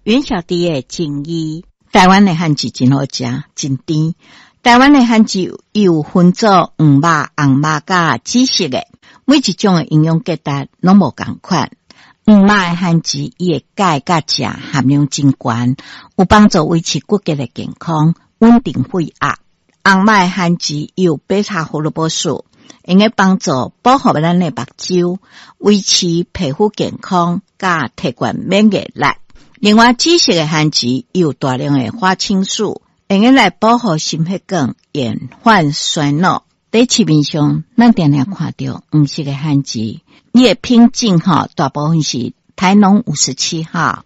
阮小弟的情誼。台灣的番薯真好食，真甜。台灣的番薯有分做黃肉、紅肉佮紫色的，每一種的營養價值攏無仝款。黃肉的番薯，伊的鈣佮鉀含量真懸，有幫助維持骨骼的健康，穩定血壓。紅肉的番薯有貝塔胡蘿蔔素，會用幫助保護咱的目睭，維持皮膚健康，佮提懸免疫力。另外，紫色的番薯有大量的花青素，會用來保護心血管，延緩衰老。佇市面上，咱定定看著黃色的番薯，伊的品種吼，大部分是台農57號，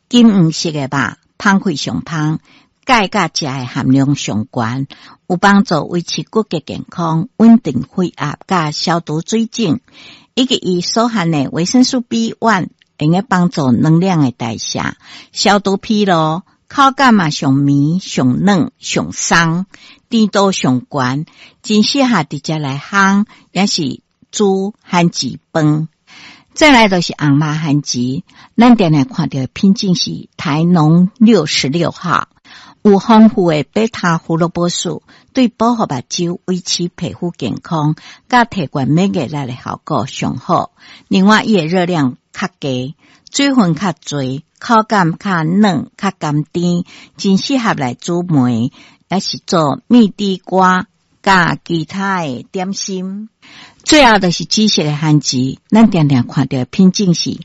金黃色的肉，芳氣上芳，鈣佮鉀的含量上懸，有幫助維持骨骼健康、穩定血壓、佮消除水腫，以及伊所含的維生素 B1，會用幫助能量的代謝、消除疲勞，口感嘛上綿、上軟、上鬆，甜度上懸，真適合直接來烘，抑是煮番薯飯。再來就是紅肉番薯，咱定定看著的品種是台農66號，有豐富的貝塔胡蘿蔔素，對保護目睭、維持皮膚健康、佮提懸免疫力的效果上好。另外，伊的熱量較低，水分較濟，口感較軟、較甘甜，真適合來煮糜，抑是做蜜地瓜、佮其他的點心。最後就是紫色的番薯，咱定定看著的品種是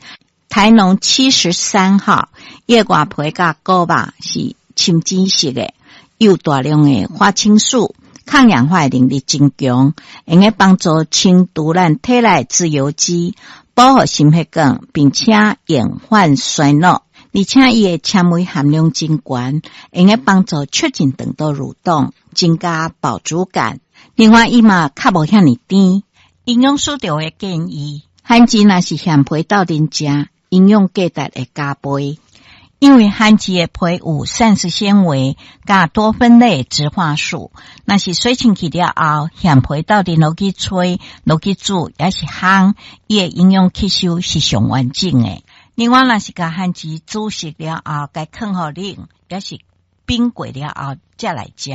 台農73號，伊的外皮佮果肉是深紫色的，有大量的花青素，抗氧化能力真強，會用幫助清除咱體內自由基，保護心血管，並且延緩衰老。而且伊的纖維含量真懸，會用幫助促進腸道蠕動，增加飽足感。另外，伊嘛較無遐爾甜。營養師就會建議，番薯若是現皮鬥陣食，營養價值會加倍。因為番薯的皮有膳食纖維佮多酚類植化素，若是洗清氣了後，現皮鬥陣落去炊、落去煮，抑是烘，伊的營養吸收是上完整的。另外，若是共番薯煮熟了後，共囥予冷，抑是冰過了後才來食，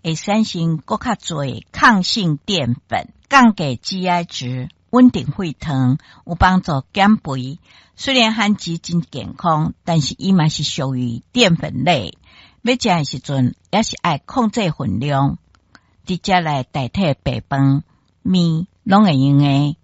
會產生閣較濟抗性澱粉，降低 GI 值，穩定血糖，有幫助減肥。雖然番薯真健康，但是伊嘛是屬於澱粉類，欲食的時陣也是愛控制分量，直接來代替白飯、麵，攏會用的。